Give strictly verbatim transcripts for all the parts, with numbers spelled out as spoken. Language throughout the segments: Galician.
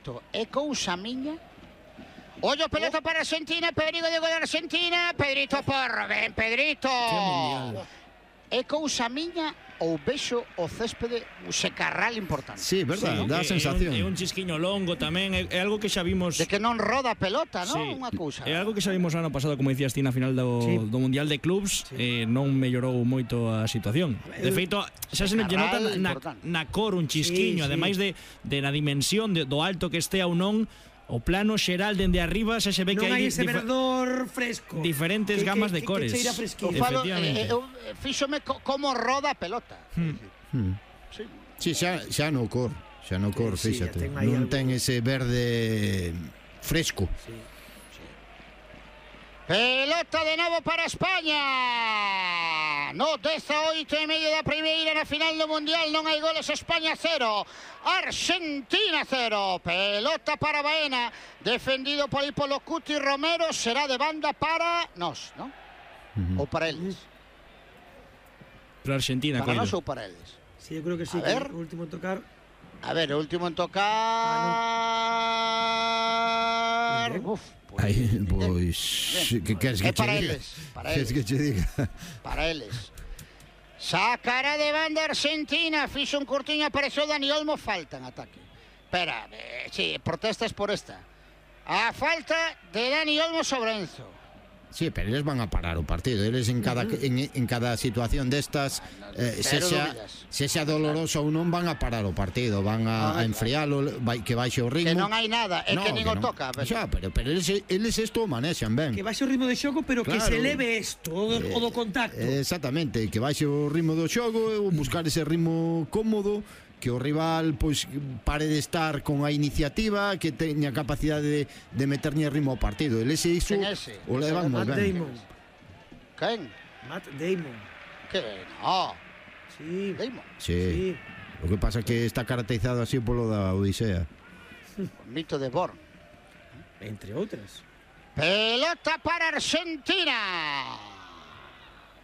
Pedrito, é cousa miña? Ollo, pelota para Argentina, perigo de gol de Argentina, Pedrito Porro, ben Pedrito. É cousa miña ou vexo o céspede un secarral importante? Sí, verdad, Sí, dá a é- sensación. É un, é un chisquiño longo tamén, é, é algo que xa vimos. De que non roda a pelota, non? Sí, Unha cousa. é algo que xa vimos ano pasado, como dicías ti, na final do, Sí. do Mundial de Clubs, eh, non mellorou moito a situación. De feito, xa se lle nota na, na, na cor un chisquiño, Sí, sí. ademais de, de na dimensión de, do alto que estea ou non, o plano xeral dende arriba xa se ve que Non hai hai ese difer- verdor fresco. diferentes Que- gamas que- de cores. Que cheira Eu fresquinho. falo, Efectivamente. eh, eu fíxome co, como roda a pelota. Hmm. Sí. Sí, xa, xa no cor, xa no cor, Sí, fíxate. ten aí Non algo. ten ese verde fresco. Pelota de novo para España. No, dezaoito e medio da primeira na final do Mundial. Non hai goles. España cero, Argentina cero. Pelota para Baena, defendido por Polo Cuti Romero. Será de banda para nós, non? Ou para eles? Para Argentina, Para coido. nós ou para eles? Sí, eu creo que sí, A que ver. o último en tocar. A ver, o último en tocar... Muy bien. Uf, pues, Aí, bien. pois, Bien. que queres que É che para diga? eles, para Queres eles. que che diga? Para eles. Sacará de banda Argentina. Fixo un curtiño, apareceu Dani Olmo. Falta en ataque. Espera, eh, sí, protestas por esta. A falta de Dani Olmo sobre Enzo. Sí, pero eles van a parar o partido. Eles en cada en, en cada situación destas, eh, Cero sexa, dúbidas. sexa doloroso ou non, van a parar o partido, van a, a enfrialo, vai, que baixe o ritmo. Que non hai nada, é No, que nin o non. toca. Pero... Xa, pero, pero eles, eles isto o manexan ben. Que baixe o ritmo de xogo, pero que Claro. se eleve isto, o do, o do contacto. Eh, Exactamente, que baixe o ritmo do xogo, ou buscar ese ritmo cómodo, que o rival pois pare de estar con a iniciativa, que teña capacidade de, de meterlle ritmo ao partido. Eles iso Quen é ese? o levan moi Matt ben. Damon. Quen? Matt Damon. Que no. Sí. Damon. Sí. Sí. O que pasa é que está caracterizado así polo da Odisea. O mito de Born. Entre outras. Pelota para Argentina.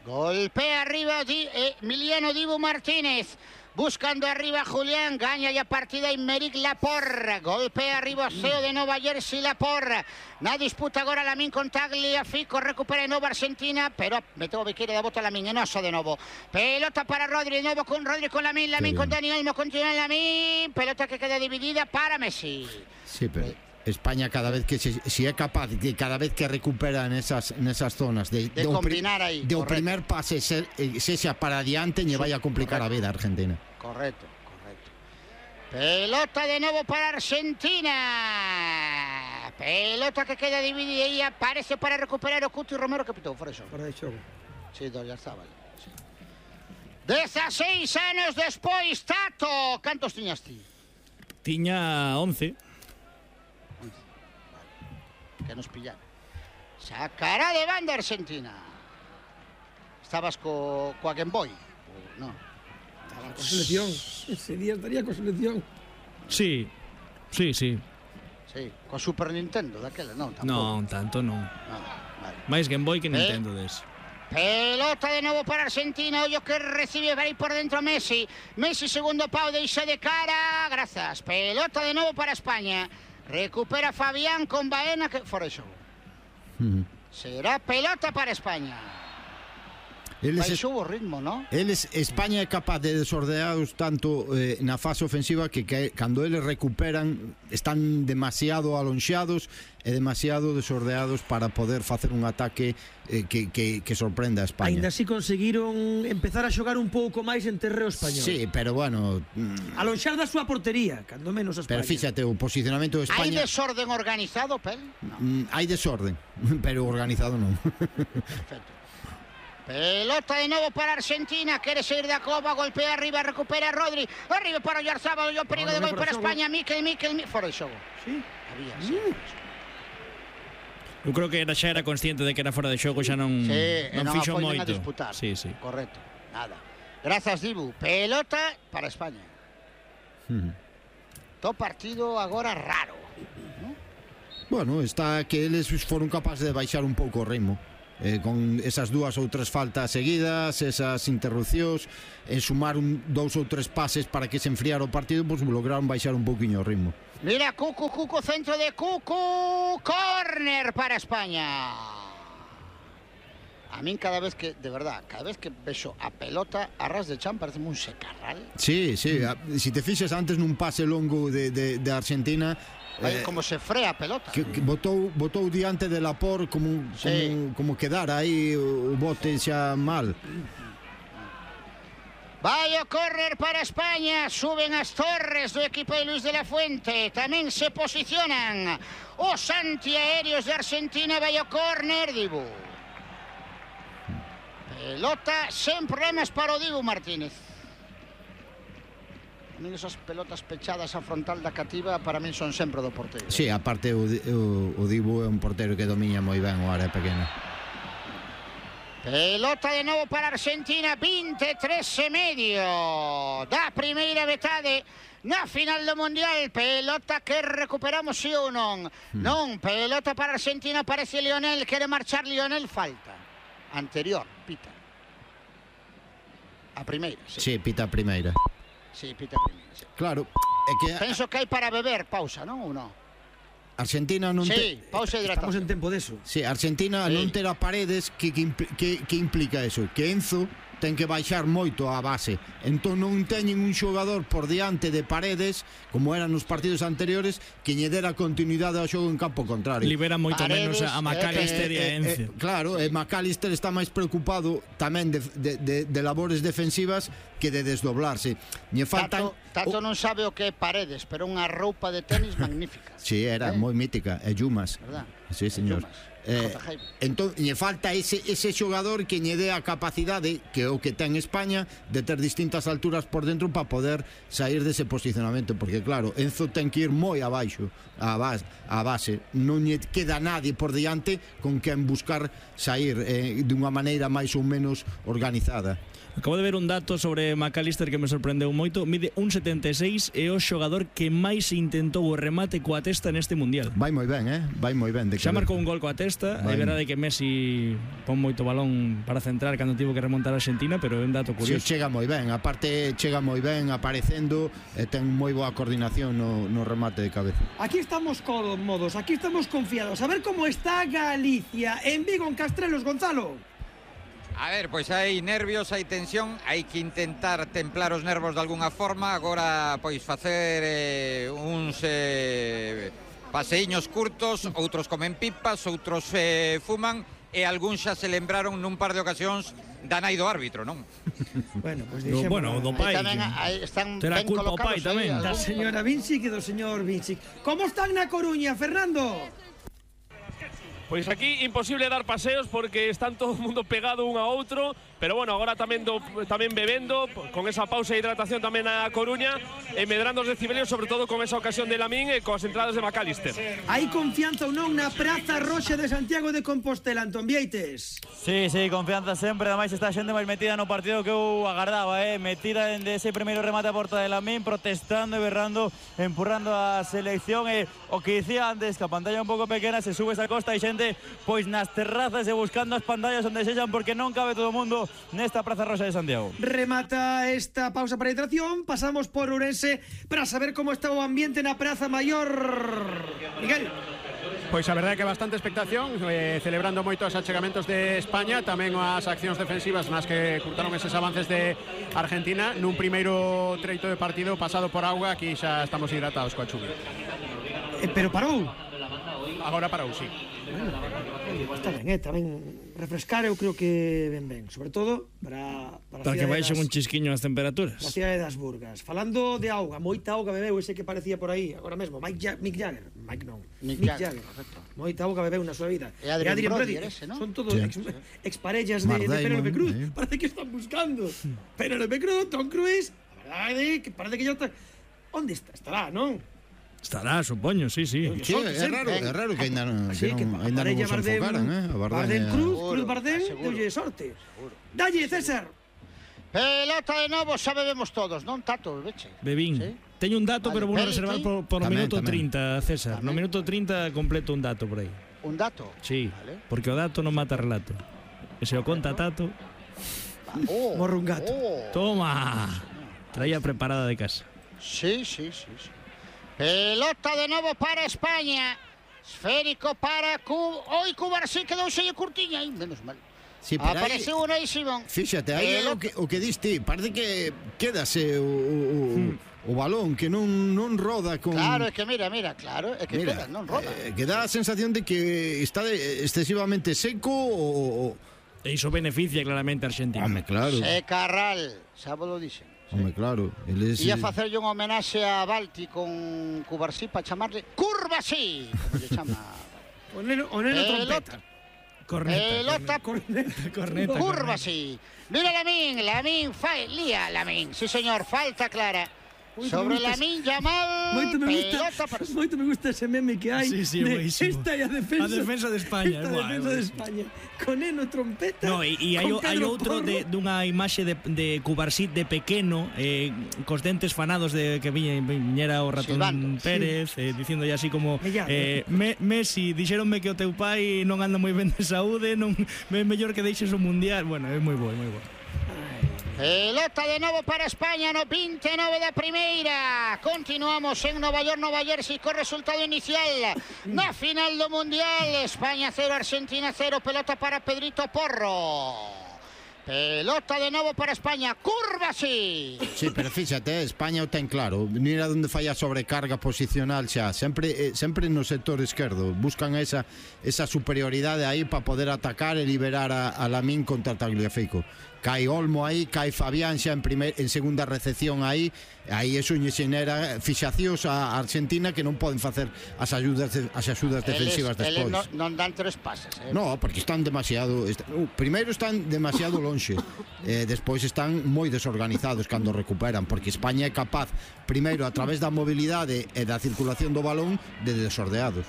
Golpea arriba Di, eh, Emiliano Dibu Martínez. Buscando arriba Julián, gaña ya partida Aymeric Laporte. Golpea arriba o Ceo de Nova Jersey Laporte. Na disputa agora Lamín con Tagliafico, recupera de novo Argentina, pero meteu o biqueira da bota Lamín, enoso de novo. Pelota para Rodri, de novo con Rodri con Lamín, Lamín Qué con bien. Dani Olmo, continúa Lamín. Pelota que queda dividida para Messi. Sí, pero España cada vez que se, si é capaz de cada vez que recupera nesas nesas zonas de, De do pri- combinar aí, de o correcto. primer pase ser, eh, sexa para adiante lle vai a complicar a vida a Argentina. Correcto, correcto. Pelota de nuevo para Argentina. Pelota que queda dividida y aparece para recuperar o Cuti Romero que pitou, fora eso. Fora de xogo. Sí, Dollarzábal. Sí. dezaseis anos despois, Tato. Cantos tiñas ti? Tiña once. Que nos pillara. Sacará de banda Argentina. Estabas co, coa Game Boy? No. Con selección. Ese día estaría con selección. Sí, sí, sí. Sí, co Super Nintendo daquela, non, tampouco. Non, tanto non. Non, vale. Máis Game Boy que Eh. Nintendo des. Pelota de novo para Argentina. Ollo que recibe vai por dentro Messi. Messi segundo pau, deixa de cara. Grazas. Pelota de novo para España. Recupera Fabián con Baena que fora de xogo. Uh -huh. Será pelota para España. Eles, Baixou o ritmo, ¿no? eles España é capaz de desordeados tanto eh, na fase ofensiva que, que cando eles recuperan están demasiado alonxados e demasiado desordeados para poder facer un ataque eh, que, que, que sorprenda a España. Ainda así conseguiron empezar a xogar un pouco máis en terreo español. Sí, pero bueno, mm, Alonxar da súa portería, cando menos a España. pero fíxate, o posicionamento de Hai España desorden organizado, Pel? No, mm, hai desorden, pero organizado non. perfecto. Pelota de novo para Argentina. Quere seguir da Copa, golpea arriba, recupera Rodri. Arriba para Oyarzábal, o perigo No, de no, gol fora para xogo. España. Mikel, Mikel, Mikel. Fora de xogo. Sí. Había, sí. Uh. Eu creo que era xa era consciente de que era fora de xogo, xa non Sí, e non non fixo apoian moito. a disputar. Sí, sí. Correcto, nada. Grazas, Dibu. Pelota para España. To partido agora raro. Bueno, está que eles foron capaces de baixar un pouco o ritmo. Eh, con esas dúas ou tres faltas seguidas, esas interrupcións, en sumar un, dous ou tres pases para que se enfriara o partido, pois pues, lograron baixar un pouquiño o ritmo. Mira, Cucu, Cucu, centro de Cucu. Córner para España. A min cada vez que, de verdad, cada vez que vexo a pelota a ras de chan parece un secarral. Sí, sí, mm. si te fixes antes nun pase longo de, de, de Argentina, eh, como se frea a pelota. Que, que botou, botou diante de Laporte como, sí. como, como quedara aí o bote xa mal. Vai o córner para España, suben as torres do equipo de Luis de la Fuente, tamén se posicionan os antiaéreos de Argentina, vai o córner, Dibu. Pelota sen problemas para o Dibu Martínez. A min esas pelotas pechadas a frontal da cativa para min son sempre do porteiro. Sí, aparte o, o, o Dibu é un porteiro que domina moi ben o área pequena. Pelota de novo para Argentina, vinte e tres e medio da primeira metade na final do Mundial. Pelota que recuperamos, sí ou non? Hmm. Non, pelota para Argentina, parece Lionel, quere marchar Lionel, falta. Anterior, pita. A primeira, sí. Sí, pita a primeira. Sí, pita a primeira, sí. Claro, é que... Penso que hai para beber, pausa, non ou non? Argentina non sí, te... pausa de hidratación. Estamos en tempo deso. Sí, Argentina sí. non terá Paredes, que, que, que, que implica eso? Que Enzo ten que baixar moito a base. Entón non teñen un xogador por diante de Paredes, como eran nos partidos anteriores, que lle dera continuidade ao xogo en campo contrario. Libera moito Paredes, menos a McAllister eh, e a Enzo. Eh, eh, claro, e McAllister está máis preocupado tamén de, de, de, de labores defensivas que de desdoblarse. Lle faltan... Tato, Tato non sabe o que é Paredes, pero unha roupa de tenis magnífica. Sí, era eh? moi mítica. E Yumas. Verdad? Sí, señor. Eh, entón, lle falta ese, ese xogador que lle dé a capacidade, que o que ten España, de ter distintas alturas por dentro para poder sair dese posicionamento, porque claro, Enzo ten que ir moi abaixo a base, a base. Non lle queda nadie por diante con quen buscar sair eh, dunha maneira máis ou menos organizada. Acabo de ver un dato sobre McAllister que me sorprendeu moito. Mide un setenta e seis e o xogador que máis intentou o remate coa testa neste Mundial. Vai moi ben, eh? Vai moi ben. Xa marcou un gol coa testa. É verdade que Messi pon moito balón para centrar cando tivo que remontar a Argentina, pero é un dato curioso. Sí, chega moi ben. Aparte, chega moi ben aparecendo e ten moi boa coordinación no, no remate de cabeza. Aquí estamos cómodos, aquí estamos confiados. A ver como está Galicia en Vigo, en Castrelos, Gonzalo. A ver, pois hai nervios, hai tensión, hai que intentar templar os nervos de algunha forma. Agora, pois, facer eh, uns eh, paseiños curtos, outros comen pipas, outros eh, fuman, e algúns xa se lembraron nun par de ocasións da nai do árbitro, non? Bueno, pois pues no, bueno, do pai. Tamén aí están terá ben culpa o pai tamén. Da señora Vinci e do señor Vinci. Como están na Coruña, Fernando? Pois aquí imposible dar paseos porque están todo o mundo pegado un a outro, pero bueno, agora tamén do, tamén bebendo, con esa pausa de hidratación tamén na Coruña, e medrando os decibelios, sobre todo con esa ocasión de Lamín e coas entradas de McAllister. Hai confianza ou non na Praza Roxa de Santiago de Compostela, Antón Vieites? Sí, sí, confianza sempre, ademais está xente máis metida no partido que eu agardaba, eh? metida en ese primeiro remate a porta de Lamín, protestando e berrando, empurrando a selección, e o que dicía antes, que a pantalla un pouco pequena, se sube esa costa e xente pois nas terrazas e buscando as pantallas onde sexan, porque non cabe todo o mundo nesta Praza Roxa de Santiago. Remata esta pausa para hidratación, pasamos por Ourense para saber como está o ambiente na Praza Maior. Miguel. Pois a verdade é que bastante expectación, eh, celebrando moito os achegamentos de España, tamén as accións defensivas nas que curtaron eses avances de Argentina nun primeiro treito de partido pasado por auga. Aquí xa estamos hidratados coa chuvia. Eh, pero parou? Agora parou, sí. Bueno, está ben, eh, tamén refrescar eu creo que ben ben, sobre todo para para, para que baixen un chisquiño as temperaturas. A cidade das Burgas. Falando de auga, moita auga bebeu ese que parecía por aí agora mesmo, Mike ja Mick Jagger, Mike non, Mick, Mick Jagger, Jagger. Moita auga bebeu na súa vida. E Adrian, Adrian Brody, Brody ese, ¿no? Son todos sí. ex, exparellas de, de Penélope Cruz. Eh. Parece que están buscando Penélope Cruz, Tom Cruise. A verdade que parece que ya está. Onde está? Estará, non? Estará, supoño, sí, sí. Sí, é raro, é raro que ainda non, sí, que non, ainda non os enfocaran, eh? A Bardem, Bardem Cruz, Cruz Bardem, deulle sorte. Dalle, César. Pelota de novo, xa bebemos todos, non, Tato, veche? Bebín. ¿Sí? Teño un dato, vale, pero vou reservar por, por tamén, minuto tamén. trinta, César. Tamén. No minuto trinta completo un dato por aí. Un dato? Sí, vale. Porque o dato non mata relato. E se o conta Tato... Oh, morre un gato. Oh. Toma. Traía preparada de casa. Sí, sí, sí, sí. Pelota de novo para España. Esférico para Cuba. Hoy Cuba sí quedou xeio curtiña. Ay, menos mal. Sí, apareceu un aí, Simón. Fíxate, aí é o que, o que diste. Parece que quedase o, o, hmm. o balón, que non, non roda con... Claro, é que mira, mira, claro, é que mira, queda, non roda. Eh, que dá a sensación de que está de, excesivamente seco o... E iso beneficia claramente a Argentina. Home, claro. Secarral, xa vos lo dixen. Home, claro. Eles... Ia facerlle un homenaxe a Balti con Cubarsí para chamarle Curvasí, como lle chama. O neno, o neno trompeta. Corneta, pelota, corneta, corneta, curva, sí. Mira Lamín, Lamín, fa, lía Lamín, sí señor, falta clara. Moito sobre Lamín Yamal, moito me gusta, pelota para... moito me gusta ese meme que hai. Sí, sí, de, esta é a defensa, a defensa de España. Esta a defensa de España. Con Neno trompeta. No, e, e hai, hai outro de, dunha imaxe de, de Cubarsí de pequeno, eh, cos dentes fanados de que viña, viñera o ratón Silvando, Pérez, sí. eh, dicindo así como eh, me, Messi, dixeronme que o teu pai non anda moi ben de saúde, non é mellor que deixes o mundial. Bueno, é moi bo, é moi bo. Pelota de novo para España no vinte e nove da primeira. Continuamos en Nova York, Nova Jersey co resultado inicial na final do Mundial. España cero, Argentina cero. Pelota para Pedrito Porro. Pelota de novo para España, curva sí. Sí, pero fíxate, España o ten claro. Mira onde falla sobrecarga posicional xa. Sempre eh, sempre no sector esquerdo. Buscan esa esa superioridade aí para poder atacar e liberar a, a Lamín contra Tagliafico. Cai Olmo aí, cai Fabián xa en, primer, en segunda recepción aí. Aí eso lle xenera fixacións a Argentina que non poden facer as axudas de, as axudas defensivas eles, despois. Eles non, non dan tres pases, eh? No, porque están demasiado est uh, primeiro están demasiado lonxe. Eh, despois están moi desorganizados cando recuperan, porque España é capaz primeiro a través da mobilidade e da circulación do balón de desordeados.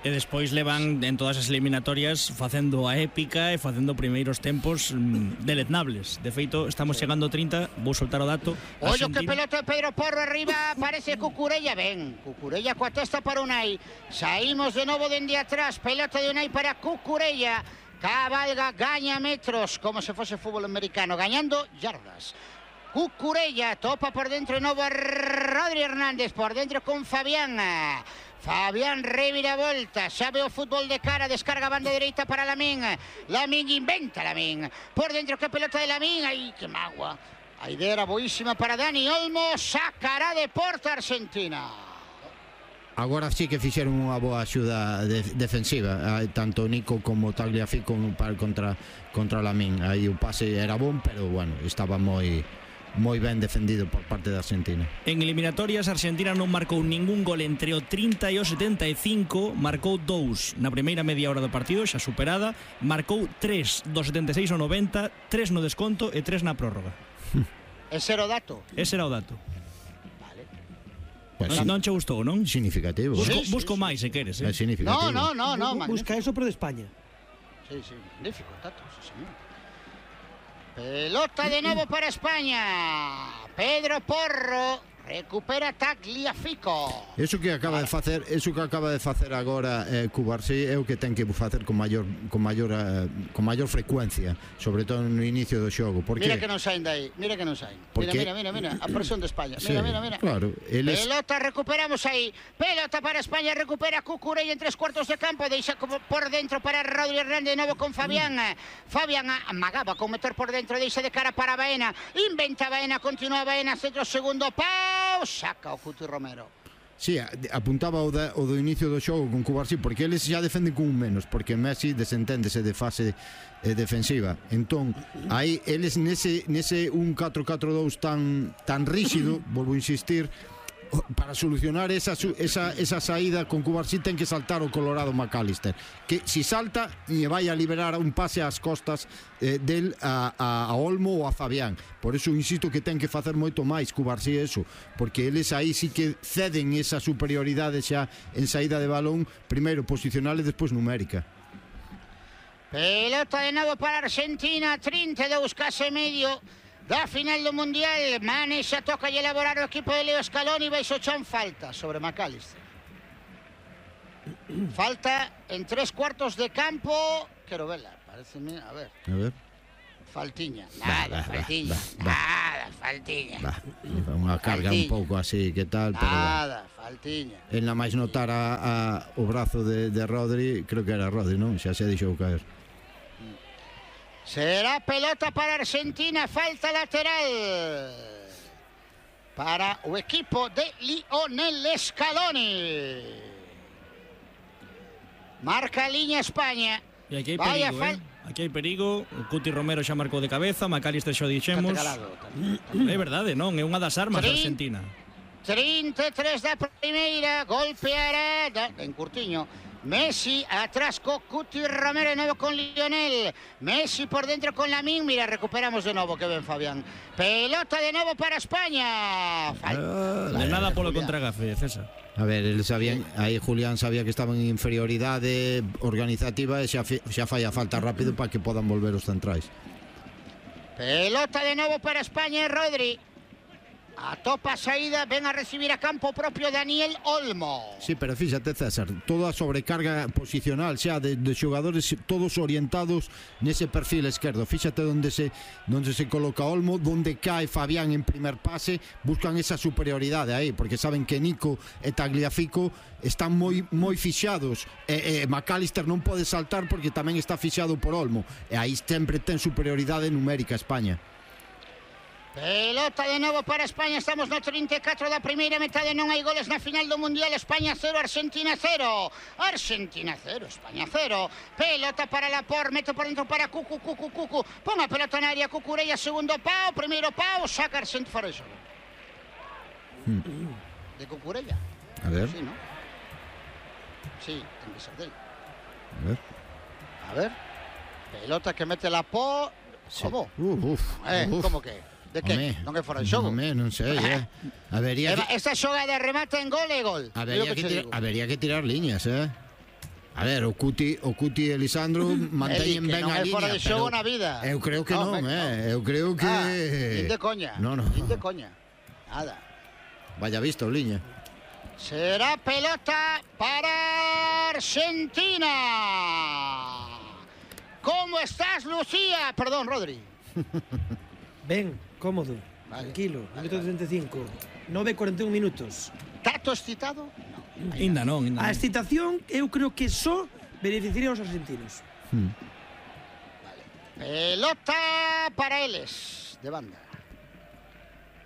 E despois levan en todas as eliminatorias facendo a épica e facendo primeiros tempos mm, deleznables. De feito, estamos chegando a trinta, vou soltar o dato. Ollo que pelota de Pedro Porro arriba, parece Cucurella, ben. Cucurella coa testa para Unai. Saímos de novo dende atrás, pelota de Unai para Cucurella. Cabalga, gaña metros, como se fose fútbol americano, gañando yardas. Cucurella topa por dentro de novo a Rodri Hernández, por dentro con Fabián. Fabián revira volta, xa ve o fútbol de cara, descarga banda dereita para Lamín. Lamín inventa Lamín. Por dentro que pelota de Lamín, aí que magua. A idea era boísima para Dani Olmo, sacará de porta Argentina. Agora sí que fixeron unha boa axuda de, defensiva, tanto Nico como Tagliafico contra, contra Lamín. Aí o pase era bon, pero bueno, estaba moi... moi ben defendido por parte da Argentina. En eliminatorias, Argentina non marcou ningún gol entre o trinta e o setenta e cinco, marcou dous na primeira media hora do partido, xa superada, marcou tres do setenta e seis ao noventa, tres no desconto e tres na prórroga. Ese era o dato? Ese era o dato. Vale. Pues non, non che gustou, non? Significativo. Busco, sí, busco sí, máis, se queres, eh? É significativo. No, no, no, no. Busca eso, pero de España. Sí, sí, magnífico dato, sí, señor. Pelota de novo para España. Pedro Porro recupera Tagliafico. Eso que acaba de facer, eso que acaba de facer agora eh, Cubarsí é o que ten que facer con maior con maior uh, con maior frecuencia, sobre todo no inicio do xogo, porque mira que non saen dai, mira que non saen. Mira, mira, mira, mira, a presión de España. Mira, sí, mira, mira. Claro, eles... Pelota recuperamos aí. Pelota para España, recupera Cucurella en tres cuartos de campo, deixa como por dentro para Rodri Hernández de novo con Fabián. Fabián amagaba con meter por dentro, deixa de cara para Baena. Inventa Baena, continúa Baena, centro segundo pau, saca o Cuti Romero. Sí, apuntaba o, da, o do inicio do xogo con Cubarsí, porque eles xa defenden con un menos, porque Messi desenténdese de fase eh, defensiva. Entón, aí eles nese, nese un catro catro dous tan, tan rígido, volvo a insistir, para solucionar esa, esa, esa saída con Cubarsí ten que saltar o Colorado McAllister, que si salta lle vai a liberar un pase ás costas eh, del a, a, a Olmo ou a Fabián. Por eso insisto que ten que facer moito máis Cubarsí eso, porque eles aí sí que ceden esa superioridade xa en saída de balón, primeiro posicional e despois numérica. Pelota de novo para Argentina, trinta e dous case medio da final do Mundial. Mane xa toca e elaborar o equipo de Leo Scaloni. Baixo chan falta sobre McAllister. Falta en tres cuartos de campo. Quero verla, pareceme, a ver. A ver. Faltiña, nada, bah, faltiña, bah, bah, nada, faltiña. Bah, unha carga faltiña. Un pouco así, que tal, pero nada, bueno. Faltiña. En la máis notar a, a, o brazo de, de Rodri, creo que era Rodri, non? Xa se deixou caer. Será pelota para Argentina, falta lateral para o equipo de Lionel Scaloni. Marca a liña España. E aquí hai perigo, eh? Aquí hai perigo. O Cuti Romero xa marcou de cabeza, Macalister xa dixemos. É verdade, non? É unha das armas da Argentina. trinta e tres da primeira, golpeará en Curtiño. Messi atrás con Cuti Romero, de nuevo con Lionel. Messi por dentro con Lamín. Mira, recuperamos de nuevo, que ben Fabián. Pelota de nuevo para España. Falta. De nada polo contragafe, César. A ver, el sabía, aí Julián sabía que estaban en inferioridade organizativa e xa, xa falla falta rápido para que podan volver os centrais. Pelota de nuevo para España, Rodri. A topa saída, ven a recibir a campo propio Daniel Olmo. Sí, pero fíxate, César, toda a sobrecarga posicional xa de, de xogadores todos orientados nese perfil esquerdo. Fíxate onde se onde se coloca Olmo, onde cae Fabián en primer pase, buscan esa superioridade aí, porque saben que Nico e Tagliafico están moi moi fixados e, e Macalister non pode saltar porque tamén está fixado por Olmo, e aí sempre ten superioridade numérica España. Pelota de novo para España, estamos no trinta e catro da primeira metade, non hai goles na final do Mundial. España cero, Argentina cero. Argentina cero, España cero. Pelota para Laporte, mete por dentro para Cucu, Cucu, Cucu. Pon a pelota na área, Cucurella, segundo pau, primeiro pau, saca Argentina fora de xogo. De Cucurella. A ver. Sí, ¿no? Sí, ten que ser del. A ver. A ver. Pelota que mete Laporte. Sí. Como? Uf, uf, eh, uf. como que? De que? Home, non é fora de xogo? Home, non sei, eh. Habería que... Esta xoga de remate en gol é gol. Habería que, que, tira, habería que tirar liñas, eh. A ver, o Cuti, o Cuti e Lisandro manteñen ben a liña. Non é fora de xogo na vida. Eu creo que non, non eh. Eu creo que... Ah, nin de coña. No, no. Nin de coña. Nada. Vaya visto, liña. Será pelota para Argentina. ¿Cómo estás, Lucía? Perdón, Rodri. Ben, cómodo, vale, tranquilo, vale, minuto vale. treinta e cinco, nove e cuarenta e un minutos. Tato excitado? No. Ainda non, ainda non. A excitación eu creo que só beneficiaría aos argentinos. Hmm. Vale. Pelota para eles, de banda.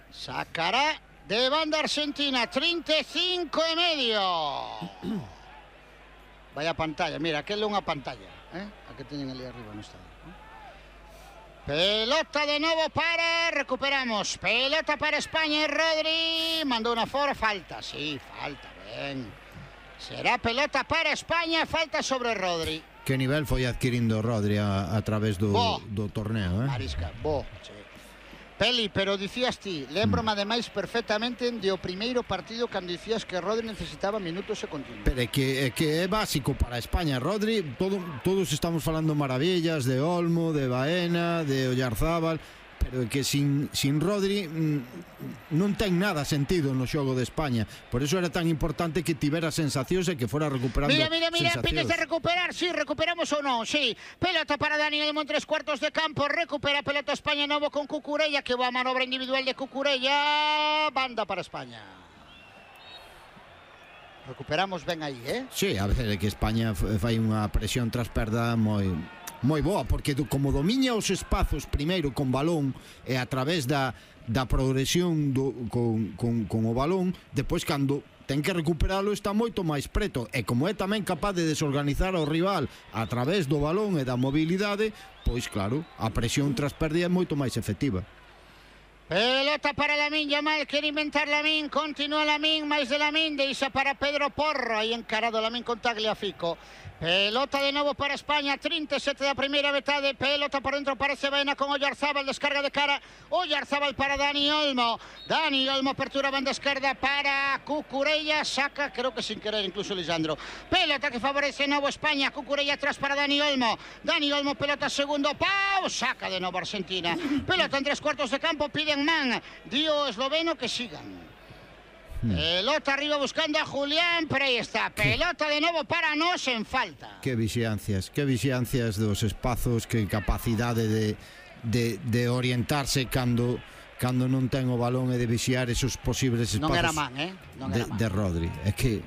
Sacará de banda Argentina, treinta e cinco e medio. Vaya pantalla, mira, aquel é unha pantalla, eh? A que teñen ali arriba no estadio. Pelota de nuevo para, recuperamos, pelota para España, Rodri, mandó una fora, falta, sí, falta, ben. Será pelota para España, falta sobre Rodri. Que nivel foi adquirindo Rodri a, a través do, do torneo, eh? Marisca, bo, sí. Peli, pero dicías ti, lembro-me ademais perfectamente de o primeiro partido cando dicías que Rodri necesitaba minutos e continuos. Pero é que, é que é básico para España. Rodri, todo, todos estamos falando maravillas de Olmo, de Baena, de Oyarzábal, pero é que sin, sin Rodri mm, non ten nada sentido no xogo de España. Por eso era tan importante que tivera sensacións e que fora recuperando mira, mira, mira, sensacións. pides de recuperar, sí, recuperamos ou non, sí. Pelota para Daniel Olmo en tres cuartos de campo, recupera pelota España novo con Cucurella, que boa manobra individual de Cucurella, banda para España. Recuperamos ben aí, eh? Sí, a ver, é que España fai unha presión tras perda moi... moi boa, porque como domiña os espazos primeiro con balón e a través da, da progresión do, con, con, con o balón, depois cando ten que recuperalo está moito máis preto, e como é tamén capaz de desorganizar ao rival a través do balón e da mobilidade, pois claro, a presión tras perda é moito máis efectiva. Pelota para Lamín Yamal, quiere inventar Lamín, continúa Lamín, máis de Lamín, deixa para Pedro Porro, aí encarado Lamín con Tagliafico. Pelota de novo para España, trinta e sete da primeira metade, pelota por dentro para Baena con Oyarzábal, descarga de cara, Oyarzábal para Dani Olmo, Dani Olmo apertura banda esquerda para Cucurella, saca, creo que sin querer incluso Lisandro, pelota que favorece de novo España, Cucurella atrás para Dani Olmo, Dani Olmo pelota segundo pau, saca de novo Argentina, pelota en tres cuartos de campo, piden man, dio esloveno que sigan. Pelota arriba buscando a Julián, pero aí está, pelota de novo para nós en falta. Que vixiancias, que vixiancias dos espazos, que capacidade de, de, de orientarse cando, cando non ten o balón e de vixiar esos posibles espacios non era man, eh? Non de, era man. de Rodri. É que